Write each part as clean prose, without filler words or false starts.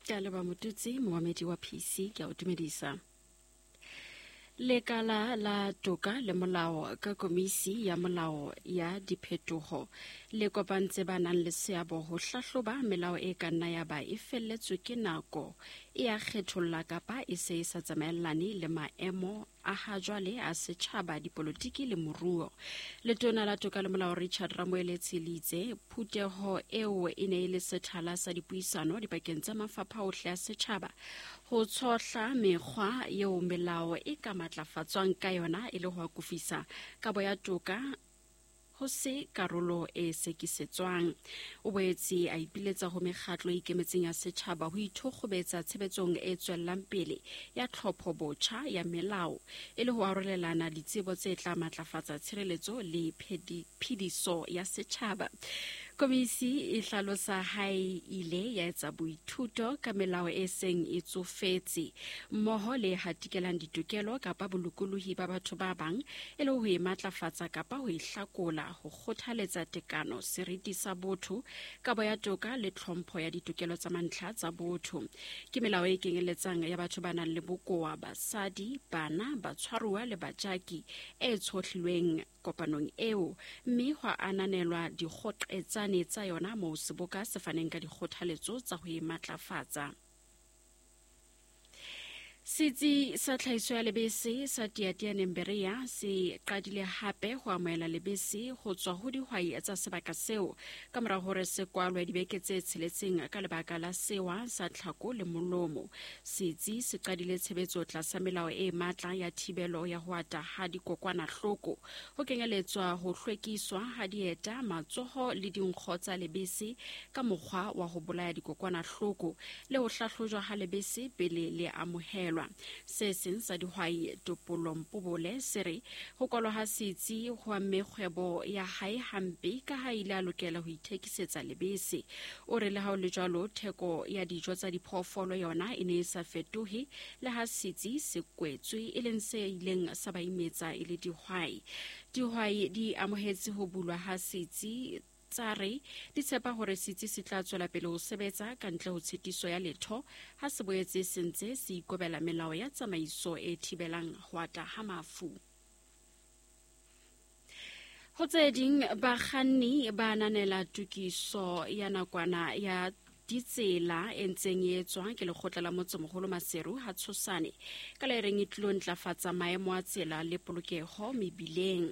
Ke a leboha Motutsi, momamedi wa PC, ke a o dumedisa. Lekala la toka le molao ka komisi ya molao ya diphetoho le kopantse ba nang le seabo ho hlahloba melao e ka nna ya ba e felletswe ke nako, e a kgetholla kapa e se e sa tsamaellane le maemo a ha jwale a setjhaba, dipolotiki le moruo. Letona la toka le molao Richard Ramoeletsi le itse phuteho eo e ne e le sethala sa dipuisano dipakeng tsa mafapha ohle a setjhaba ho tshohla mekgwa eo melao e ka matlafatswang ka yona e le ho akofisa kabo ya toka ho se karolo e sekisetswang. O boetse a ipiletsa ho mekgatlo e ikemetseng ya setjhaba ho ithokgobetsa tshebetsong e tswellang pele ya tlhopho botjha ya melao e le ho arolelana ditsebo tse tla matlafatsa tshireletso le phediso ya setjhaba. Komisi e hlalosa ha e ile ya etsa boithuto ka melao e seng e tsofetse mmoho le e hatikelang ditokelo kapa bolokolohi ba batho ba bang e le ho e matlafatsa kapa ho e hlakola, ho kgothaletsa tekano, seriti sa botho, kabo ya toka le tlhompho ya ditokelo tsa mantlha tsa botho. Ke melao e kenyeletsang ya batho ba nang le bokoa, basadi, bana, batshwaruwa le bajaki e tshohlilweng kopanong eo, mme hwa ananelwa dikgoqetsane tsa yona moo seboka se faneng ka dikgothaletso tsa ho e matlafatsa. Setsi sa tlhahiso ya lebese sa Tiatianeng Berea se qadile hape ho amohela lebese ho tswa ho dihwai tsa sebaka seo ka mora hore se kwalwe dibeke tse tsheletseng ka lebaka la sewa sa tlhako le molomo. Setsi se qadile tshebetso tlasa melao e matla ya thibelo ya ho ata ha dikokwanahloko, ho kenyeletswa ho hlwekiswa ha dieta, matsoho le dinkgo tsa lebese ka mokgwa wa ho bolaya dikokwanahloko le ho hlahlojwa ha lebese pele le amohelwa. Se seng sa dihwai Topollo Mpobole se re ho kwalwa ha setsi ho amme kgwebo ya hae hampe ka ha ile a lokela ho ithekisetsa lebese. O re le ha ho le jwalo theko ya dijo tsa diphoofolo yona e ne e sa fetohe le ha setsi se kwetswe, e leng se ileng sa ba imetsa e le dihwai. Dihwai di amohetse ho bulwa ha setsi tsa re di tshepa hore setsi se tla tswela pele ho sebetsa ka ntle ho tshitiso ya letho ha se boetse se ntse se ikobela melao ya tsamaiso e thibelang ho ata ha mafu. Ho tse ding, bakganni ba ananela tokiso ya nakwana ya ditsela e ntseng e etswa ke lekgotla la motsemoholo Maseru ha Tshosane ka le reng e tlilo ntlafatsa maemo a tsela le polokeho mebileng.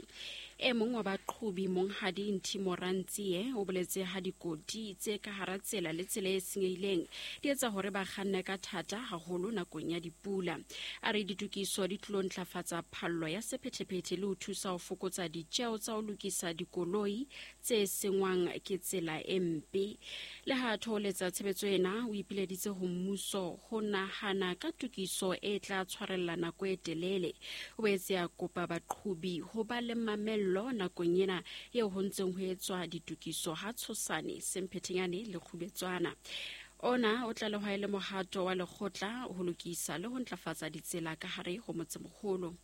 E mong wa baqhobi Monghadi Nthimo Rantsie o boletse ha dikoti tse ka hara tsela le tsela e senyehileng di etsa hore ba kganne ka thata haholo nakong ya dipula. A re ditokiso di tlilo ntlafatsa phallo ya sephethephethe le ho thusa ho fokotsa ditjeo tsa ho lokisa dikoloi tse sengwang ke tsela e mpe. Le ha a thoholetsa tshebetso ena, o ipileditse ho mmuso ho nahana ka tokiso e tla tshwarella nako e telele. O boetse a kopa baqhobi ho ba le mamello nakong ena eo ho ntseng ho etswa ditokiso ha Tshosane, Semphethenyane le Kgubetswana. Ona o tlalehwa e le mohato wa lekgotla ho lokisa le ho ntlafatsa ditsela ka hare ho motsemoholo.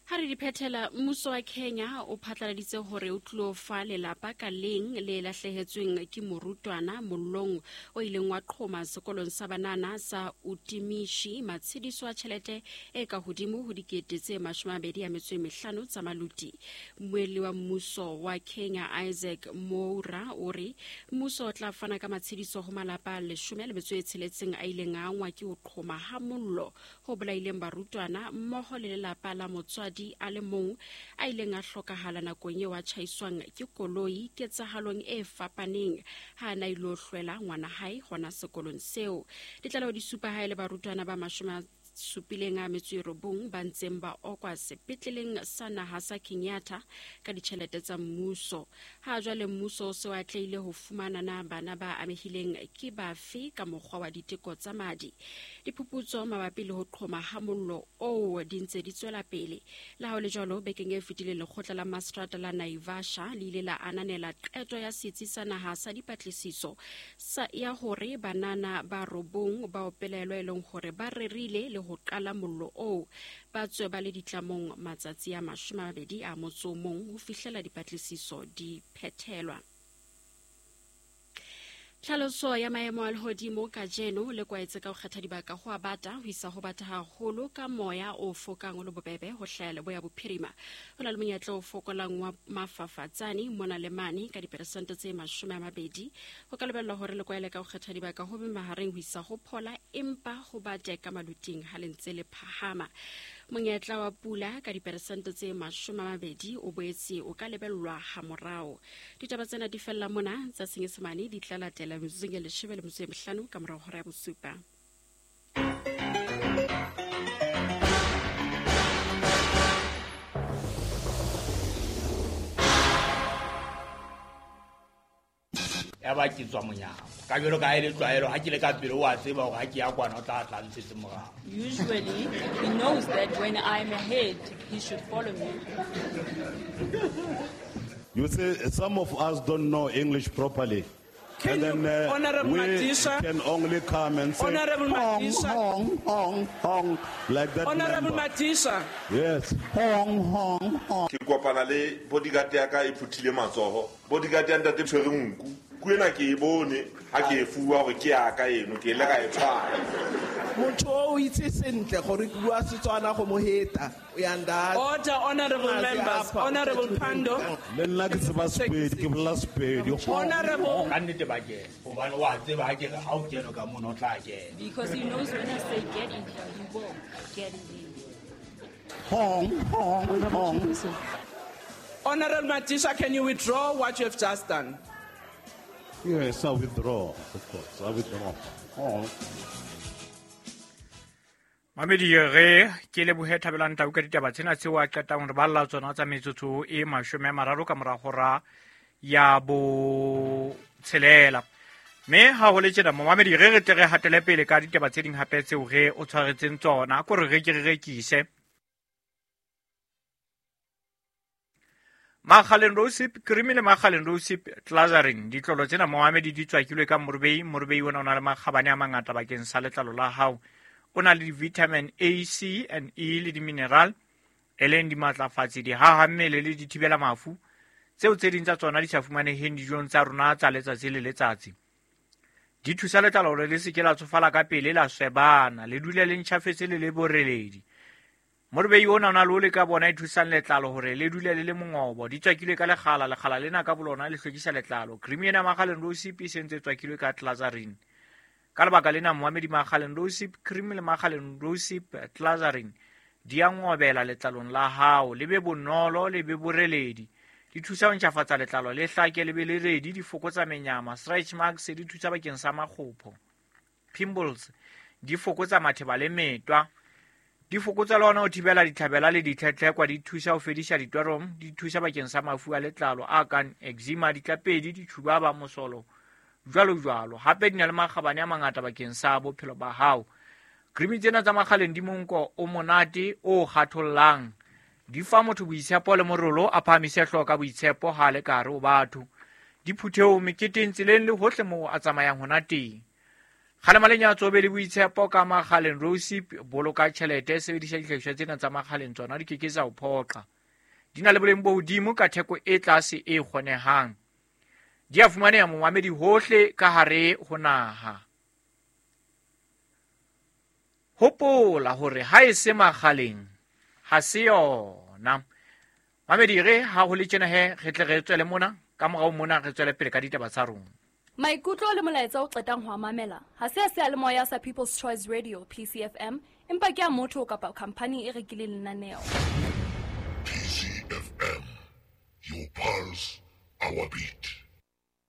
Ha re di phethela, mmuso wa Kenya o phatlaladitse hore o tlilo fa lelapa ka leng le lahlehetsweng ke morutwana mollong o ileng wa qhoma sekolong sa banana sa Utimishi matshediso a tjhelete e ka hodimo ho dikete tse 25 tsa maluti. Mmuelli wa mmuso wa Kenya Isaac Mwaura o re mmuso o tla fana ka matshediso ho malapa a 16 a ileng a angwa ke ho qhoma ha mollo ho bolaileng barutwana mmoho le lelapa la motswadi a le mong a ileng a hlokahala nakong eo a tjhaiswang ke koloi ketsahalong e fapaneng ha a na ilo hlwela ngwana hae hona sekolong seo. Ditlaleho di supa ha e le barutwana ba 79 ba ntseng ba okwa sepetleleng sa naha sa Kenyatta ka ditjhelete tsa mmuso. Ha jwale mmuso o se o atlehile ho fumana na bana ba amehileng ke bafe ka mokgwa wa diteko tsa madi. Diphuputso mabapi le ho qhoma ha mollo oo di ntse di tswela pele. Le ha ho le jwalo, bekeng e fetileng lekgotla la maseterata la Naivasha le ile la ananela qeto ya setsi sa naha sa dipatlisiso sa ya hore banana ba robong bao pelaelo e leng hore ba rerile le ho qala mollo oo ba tswe ba le ditlamong matsatsi a 21 ho fihlela dipatlisiso di phethelwa. Tlhaloso ya maemo a lehodimo kajeno le kwaetse ka ho kgetha dibaka ho a bata ho isa ho bata haholo ka moya o fokang o le bobebe ho hlaya leboya bophirima. Ho na le monyetla o fokolang wa mafafatsane mona le mane ka diperesente tse 20. Ho ka lebellwa hore le kwaele ka ho kgetha dibaka ho be mahareng ho isa ho phola empa ho bate ka maluting ha le ntse le phahama. Monyetla wa pula ka diperesente tse 20 o boetse o ka lebellwa hamorao. Ditaba tsena di fella mona tsa Senyesemane di tla latela metsotsong e 15 ka morao hora ya bosupa. Ya ba ke tswa monyako ka jwalo ka ha e le tlwaelo ha ke le ka pele o a tseba hore ha ke ya kwana o tla tla ntshetse morao. Usually he knows that when I'm ahead he should follow me. You see, some of us don't know English properly. Can and you, then Honorable we Madisha, can only come and say, Honorable hong, Madisha. hong, hong, hong, like that. Honorable member. Madisha. Yes. Hong, hong, hong. Ke kopana le bodyguard ya ka e phuthile matsoho. Bodyguard ya ntate tshwere nku. Ku ena ke e bone ha ke e fuwa hore ke ya ka eno, ke ile ka e tshwara. Motho o itse sentle gore ke bua Setswana go mo heta. O ya nda. Order, honorable members. Honorable Pandor. Le nna ke tseba Sepedi, ke bolela Sepedi. Honorable. Ka nnete ba kena. Hobane o a tseba ha ke re ha o kene ka mono o tla kena. Because he knows when I say get in here, he will get in here. Hong, hong, hong. Honorable Madisha, can you withdraw what you have just done? Yes, I withdraw, of course. I withdraw. Hong. Mamedi re ke lebohe Thabelang Tau ka ditaba tsena tseo a qetang hore ba lla tsona tsa metsotso e 30 ka mora hora ya bo 6. Mme ha ho le tjena momamedi re re tle re hatele pele ka ditaba tse ding hape tseo re o tshwaretseng tsona ko re re ke re rekise. Makgaleng Rosip cream le Makgaleng Rosip Glazarin ditlolo tsena momamedi di tswakilwe ka morubei. Morubei ona o na le makgabane a mangata bakeng sa letlalo la hao. O na le vitamin A, C and E le di-mineral e leng dimatlafatsi, dihaha mmele le dithibela mafu tseo tse ding tsa tsona di sa fumaneheng dijong tsa rona tsa letsatsi le letsatsi. Di thusa letlalo hore le se ke la tsofala ka pele, la swebana, le dule le ntjhafetse le le boreledi. Morubei ona o na le ole ka bona e thusang letlalo hore le dule le le mongobo. Di tswakilwe ka lekgala, lekgala lena ka bolona le hlwekisa letlalo. Cream ena Makgaleng Rosip e sentse e tswakilwe ka Glazarin. Ka lebaka lena moamedi Makgaleng Rosip cream le Makgaleng Rosip Glazarin di a ngobela letlalong la hao, le be bonolo, le be boreledi. Di thusa ho ntjhafatsa letlalo le hlake le be le redi, di fokotsa menyama, stretch marks di thusa bakeng sa makgopho, pimples di fokotsa matheba le metwa, di fokotsa le hona ho thibela ditlhabela le ditlhetlhekwa, di thusa ho fedisa ditwarom, di thusa bakeng sa mafu a letlalo a kang eczema, ditlapedi, ditjhubaba, mosolo, jwalo jwalo. Hape di na le makgabane a mangata bakeng sa bophelo ba hao. Cream tsena tsa Makgaleng di monko o monate o kgathollang, di fa motho boitshepo le morolo, a phahamise hlooho ka boitshepo ha le ka hare ho batho. Di phuthehong, meketeng, tseleng le hohle moo a tsamayang hona teng. Kgalema lenyatso, be le boitshepo ka Makgaleng Rosip. Boloka tjhelete, sebedisa dihlahiswa tsena tsa Makgaleng, tsona di ke ke tsa o phoqa. Di na le boleng bo hodimo ka theko e tlase e kgonehang. Di a fumaneha momamedi hohle ka hare ho naha. Hopola hore ha e se Makgaleng ha se yona. Mamedi re ha ho le tjena he re tle re tswele mona ka morao mona re tswele pele ka ditaba tsa rona. Maikutlo le molaetsa o qetang ho a mamela ha se a seyalemoya sa People's Choice Radio PCFM, empa ke a motho kapa khampani e rekileng lenaneo. PCFM, your pulse, our beat.